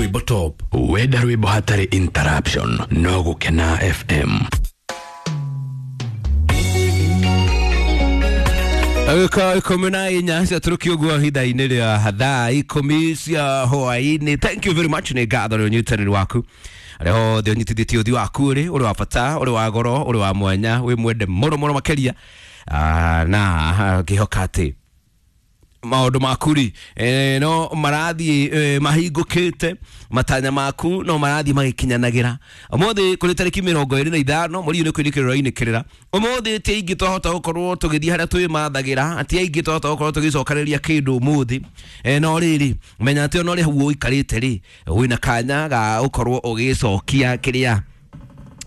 Rwimbo top. Wenda rwimbo hatarĩ interruption no Gũkena FM. Agĩka 14 ciatũrũkio ũguo ihinda-inĩ rĩa thaa 10 cia hwaĩ-inĩ. Thank you very much, nĩ ngatho nĩ ũnyitanĩri waku arĩa othe ũnyitithĩtie ũthiũ waku ũrĩ ũrĩ wa bata, ũrĩ wa goro, ũrĩ wa mwanya, wĩ mwende mũno mũno makĩria. Na ngĩhoka atĩ maũndũ maku rĩ, no marathiĩ mahingũkĩte, matanya maku no marathiĩ magĩkinyanagĩra. Ũmũthĩ kũrĩ tarĩki 25 mweri ũyũ nĩ kwĩnĩkĩrĩra ũrainĩkĩrĩra. Ũmũthĩ ti aingĩ twahota gũkorwo tũgĩthiĩ harĩa twĩmathagĩra, ti aingĩ twahota gũkorwo tũgĩcokanĩrĩria kĩndũ ũmũthĩ. No rĩrĩ, menya atĩ ona ũrĩa hau ũikarĩte rĩ, wĩna kanya ga gũkorwo ũgĩcokia kĩrĩa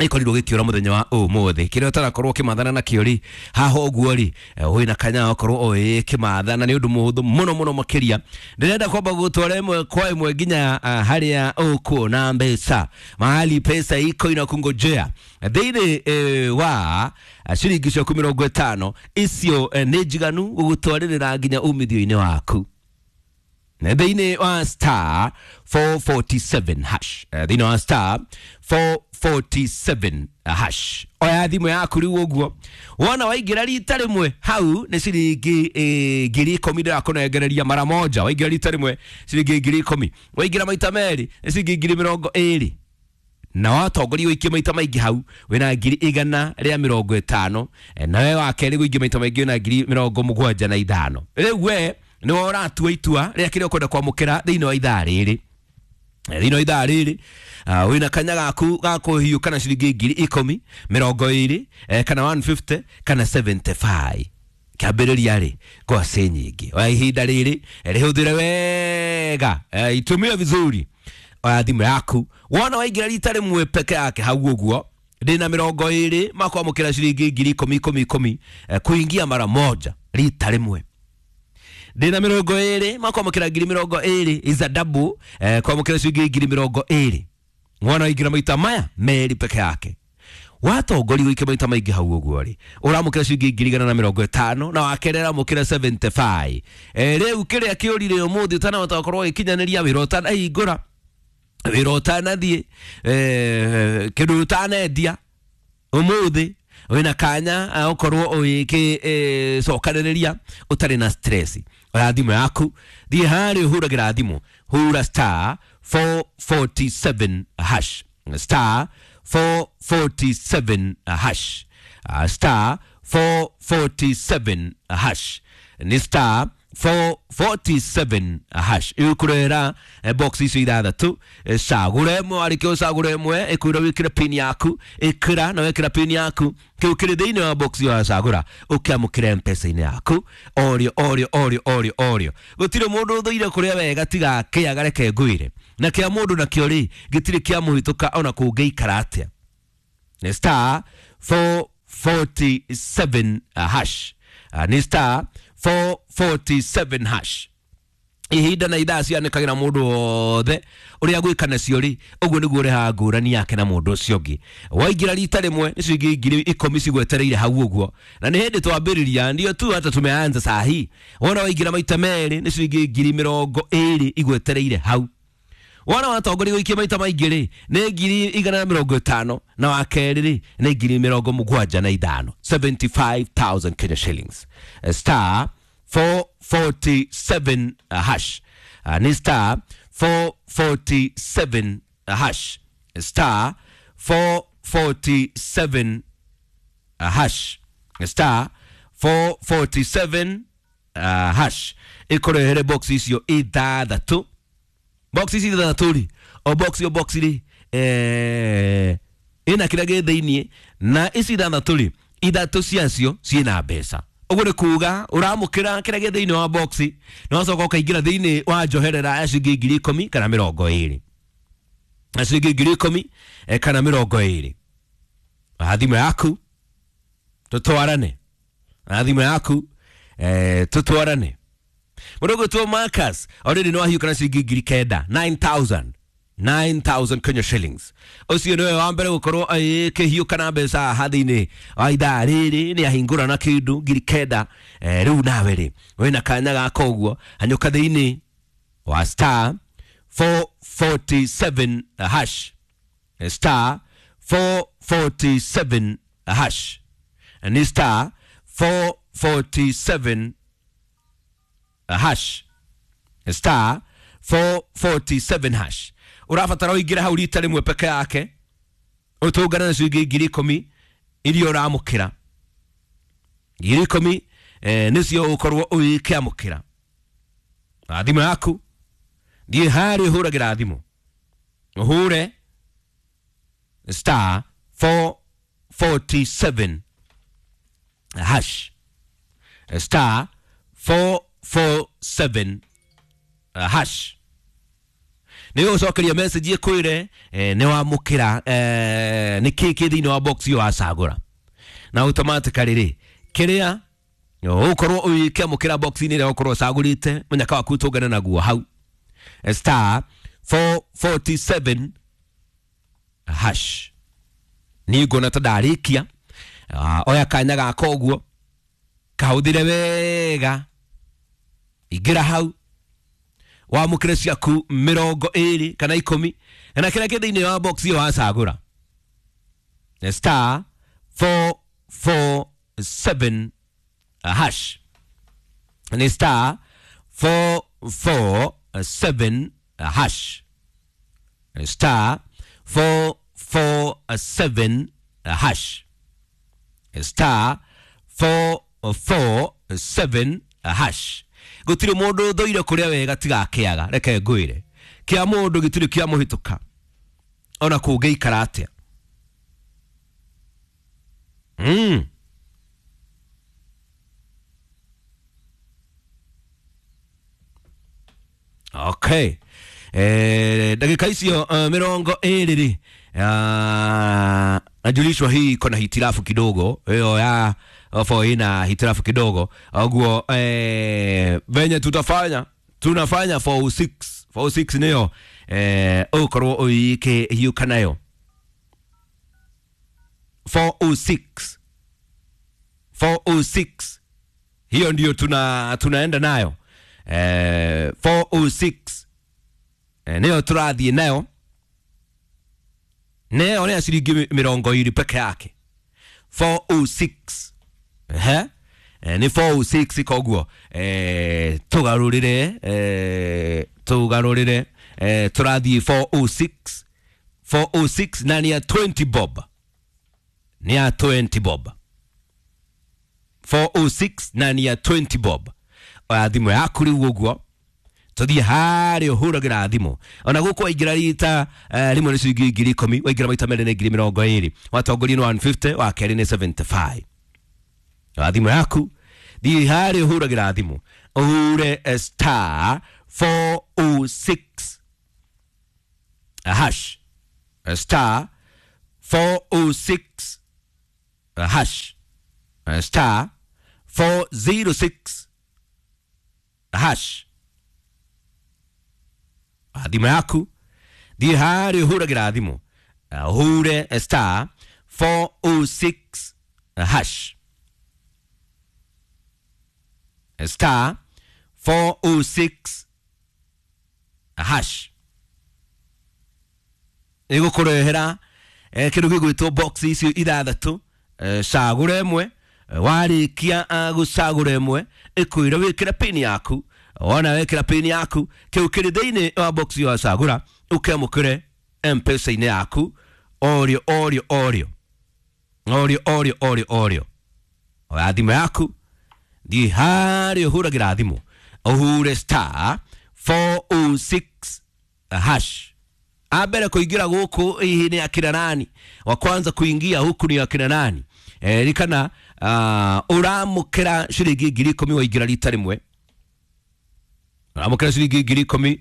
ikorirwo gĩkĩũra mũthenya wa ũmũthĩ, kĩrĩa ũtarakorwo ũkĩmathana nakĩo rĩ, haha ũguo rĩ, wĩna kanya gakorwo ũgĩkĩmathana. Nĩ ũndũ mũhũthũ mũno mũno makĩria. Ndĩrenda kwamba gũtwara ĩmwe kwa ĩmwe nginya harĩa ũkuona mbeca, mahali pesa iko inakungojea thĩinĩ wa ciringi ciaku 50 icio nĩ njiganu gũgũtwarĩrĩra nginya umithio-inĩ waku. Thĩinĩ wa star 447 hash, thĩinĩ wa star 447 hash, oya thimũ yaku rĩu ũguo wona waingĩra rita rĩmwe hau nĩ ciringi 10,000 ndĩrakũnengereria mara moja. Waingĩra rita rĩmwe ciringi 10,000, waingĩra maita merĩ nĩ ciringi 20,000, na watongoria ũikie maita maingĩ hau wĩna 150,000, nawe wa kerĩ gũikia maita maingĩ wĩna 75,000. Rĩu we nĩwe ũratua itua rĩa kĩrĩa ũkwenda kwamũkĩra thĩinĩ wa ithaa rĩrĩ. Thĩinĩ wa ithaa rĩrĩ wĩna kanya gaku ga kũhiũka na ciringi 10,000, 20, kana 150 kana 75. Kĩambĩrĩria rĩ ngwacĩ nyingĩ, oya ihinda rĩrĩ rĩhũthĩre wega, itumie vizuri. Oya thimũ yaku wona waingĩra rita rĩmwe peke yake hau ũguo ndĩna 20 makwamũkĩra ciringi 10,000 10 10, kuingia mara moja rita rĩmwe. Ndĩna 20 makwamũkĩra 20,000 is a double, kwamũkĩra ciringi 20,000. Mwana waingĩra maita maya merĩ peke yake, watongoria ũikie maita maingĩ hau ũguo rĩ, ũramũkĩra ciringi 150,000, na wakerĩ ũramũkĩra 75. Rĩu kĩrĩa kĩũrire ũmũthĩ ũtanahota gũkorwo ũgĩkinyanĩria wĩra ũtanahingũra, wĩra ũtanathiĩ, kĩndũ ũtanendia ũmũthĩ, wĩna kanya ũkorwo ũgĩcokanĩrĩria ũtarĩ na stress. Oya thimũ yaku, thiĩ harĩa ũhũragĩra thimũ, hũra star 447 hash, star 447 hash, star 447 hash, nĩ star 447 hash. Ĩgũkũrehera box icio ithathatũ, cagũra ĩmwe, warĩkia ũcagũra ĩmwe ĩkwĩra wĩkĩre pin yaku, ĩkĩra na wekĩra pin yaku kĩu kĩrĩ thĩinĩ wa box ĩyo wacagũra ũkĩamũkĩra M-Pesa-inĩ yaku orĩo orĩo orĩo orĩo orĩo. Gũtirĩ mũndũ ũthũire kũrĩa wega tiga kĩaga, reke ngwĩre, na kĩa mũndũ nakĩo rĩ gĩtirĩ kĩa mũhĩtũka ona kũngĩikara atĩa. Nĩ star 447 hash, nĩ star 447 hash. Ihinda na ithaa cianĩkagĩra mũndũ wothe ũrĩa gwĩka nacio rĩ, ũguo nĩguo ũrehaga ngũrani yake na mũndũ ũcio ũngĩ. Waingĩra rita rĩmwe nĩ ciringi 10,000 cigwetereire hau ũguo, na nĩ hĩndĩ twambĩrĩria, ndio tu hata tumeanza saa hii. Wona waingĩra maita merĩ nĩ ciringi 20,000 igwetereire hau. Wona watongoria gũikia maita maingĩ rĩ nĩ 150,000, na wa kerĩ rĩ nĩ 75,000, 75,000 Kenya shillings. Star 447 hash, ni star 447 hash, star 447 hash, star 447 hash. Ĩkũrehere box icio ithathatũ, box ici ithathatũ rĩ, o box o box rĩ, ĩna kĩrĩa gĩ thĩiniĩ, na ici ithathatũ rĩ, ithatũ ciacio ciĩna mbeca. Ũguo nĩ kuga ũramũkĩra kĩrĩa gĩ thĩinĩ wa box na wacoka ũkaingĩra thĩinĩ wa njoherera ya ciringi 10,000 kana 20, na ciringi 10,000 kana 20. Oya thimũ yaku tũtwarane, oya thimũ yaku tũtwarane. Mũndũ ũgwĩtwo Marcus already no ahiũka na ciringi 9,000, 9,000, 9,000 Kenya shillings. Ũcio nĩwe wa mbere gũkorwo akĩhiũka na mbeca haha thĩinĩ wa ithaa rĩrĩ, nĩ ahingũra na kĩndũ 9,000. Rĩu nawe rĩ wĩna kanya gaka ũguo, hanyũka thĩinĩ wa star 4 447 hash, star 447 hash, ni star 447 hash, star 447 hash. Ũrabatara ũingĩre hau rita rĩmwe peke yake, ũtũngane na ciringi 10,000 iria ũramũkĩra. 10,000 nĩcio ũkorwo ũgĩkĩamũkĩra na thimũ yaku. Thiĩ harĩa ũhũragĩra thimũ, ũhũre star 447 hash, star 447 hash. Nĩ ũgũcokeria message ĩkwĩre nĩ wamũkĩra nĩ kĩ kĩ thĩinĩ wa box ĩyo wacagũra, na automatically rĩ kĩrĩa ũgũkorwo ũgĩkĩamũkĩra box-inĩ ĩrĩa ũkorwo ũcagũrĩte mũnyaka waku tũngane naguo hau, star 447 hash. Niĩ nguona ta ndarĩkia. Oya kanya gaka ũguo, kahũthĩre wega, ingĩra hau wamũkĩre ciaku 20 kana 10 kana kĩrĩa kĩ thĩinĩ wa box ĩyo wacagũra, star 447 hash, ni star 447 hash, star 447 hash, star 447 hash. Gũtirĩ mũndũ ũthũire kũrĩa wega tiga akĩaga, reke ngwĩre kĩa mũndũ gĩtirĩ kĩa mũhĩtũka ona kũngĩikara atĩa. Okay. Dakika icio 20 rĩ, najulishwa hii iko na hitilafu kidogo, hiyo ya ofo ina hitilafu kidogo ũguo. Venye tutafanya, tunafanya 406 406 nĩyo ũkorwo ũgĩkĩhiũka nayo 406 406, hiyo ndio tunaenda nayo 406 nĩyo tũrathiĩ nayo, nĩyo nĩ ya ciringi 20 peke yake, 406. Ehe, nĩ 406. Koguo tũgarũrĩre, tũgarũrĩre, tũrathiĩ 406 406, na nĩ ya 20 bob, nĩ ya 20 bob, 406 na nĩ ya 20 bob. Oya thimũ yaku rĩu ũguo, tũthiĩ harĩa ũhũragĩra thimũ. Ona gũkũ waingĩra rita rĩmwe nĩ ciringi 10,000, waingĩra maita merĩ nĩ 20,000, watongoria nĩ 150, wa kerĩ nĩ 75. Oya thimũ yaku, thiĩ harĩa ũhũragĩra thimũ, ũhure star 406 hash, star 406 hash, star 406 hash. Thimũ yaku, thiĩ harĩa ũhũragĩra thimũ, ũhure star 406 hash, star 406 hash. Ĩgũkũrehera kĩndũ gĩgwĩtwo box icio ithathatũ, cagũra ĩmwe. Warĩkia gũcagũra ĩmwe, ĩkwĩre wĩkĩre pin yaku. Wona wekĩra pin yaku, kĩu kĩrĩ thĩinĩ wa box ĩyo wacagũra ũkĩamũkĩre M-Pesa-inĩ yaku orĩo orĩo orĩo orĩo orĩo orĩo orĩo. Oya thimũ yaku, thiĩ harĩa ũhũragĩra thimũ, ũhure star 406 hash. Ambere kũingĩra gũkũ hihi nĩ akina nani? Wa kwanza kuingia huku ni akina nani? Ririkana ũramũkĩra ciringi 10,000 waingĩra rita rĩmwe, ũramũkĩra ciringi 10,000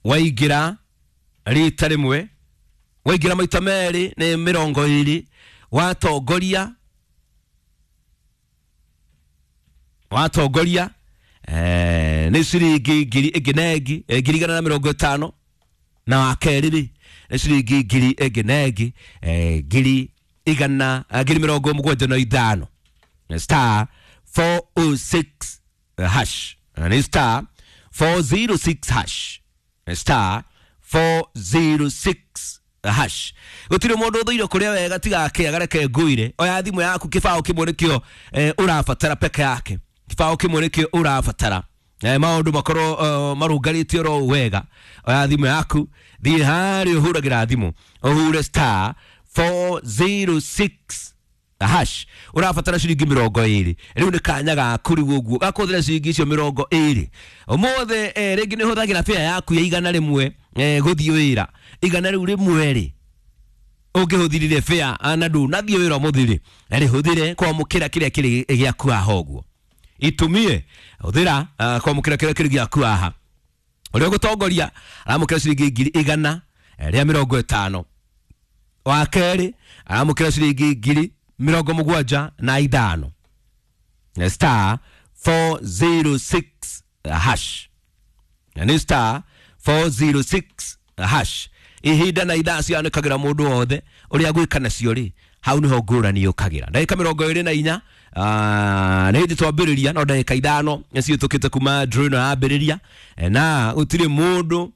waingĩra rita rĩmwe, waingĩra maita merĩ nĩ 20, watongoria watongoria nĩ ciringi ngiri ĩngĩ na ĩngĩ, 150,000, na wa kerĩ rĩ nĩ ciringi ngiri ĩngĩ na ĩngĩ, 100,000, 75,000. Star 406 hash, ni star 406 hash, Star 406 hash. Gũtirĩ mũndũ ũthũire kũrĩa wega tiga akĩaga, reke ngũire. Oya thimũ yaku, kĩbaũ kĩmwe nĩkĩo ũrabatara peke yake, kĩbaũ kĩmwe nĩkĩo ũrabatara, maũndũ makorwo marũngarĩte oro wega. Oya thimũ yaku, thiĩ harĩa ũhũragĩra thimũ, ũhure star 406 hash. Ũrabatara ciringi 20. Rĩu nĩ kanya gaku rĩu ũguo gakũhũthĩra ciringi icio 20 ũmũthĩ. Rĩngĩ nĩ ũhũthagĩra bĩa yaku ya 100 gũthiĩ wĩra. Igana rĩu rĩmwe rĩ, ũngĩhũthirire bĩa na ndũnathiĩ wĩra ũmũthĩ rĩ, rĩhũthĩre kwamũkĩra kĩrĩa kĩrĩ gĩaku haha ũguo. Itumie hũthĩra kwamũkĩra kĩrĩa kĩrĩ gĩaku haha. Ũrĩa ũgũtongoria aramũkĩra ciringi 150,000. Wa kerĩ aramũkĩra ciringi 75,000. Star 406 hash, na nĩ star 406 hash. Ihinda na ithaa cianĩkagĩra mũndũ wothe ũrĩa gwĩka nacio rĩ, hau nĩho ngũrani yũkagĩra. Ndagĩka 24 nĩ hĩndĩ twambĩrĩria, no ndagĩka 5 nĩciũtũkĩte kuma draw ĩno yambĩrĩria. Na gũtirĩ mũndũ,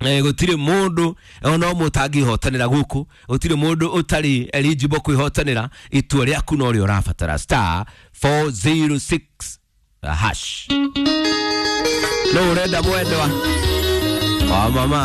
gũtirĩ mũndũ ona ũmwe ũtangĩhotanĩra gũkũ, gũtirĩ mũndũ ũtarĩ eligible kwĩhotanĩra. Itua rĩaku no rĩo ũrabatara. Star 406 hash. No ũrenda mwendwa wa mama.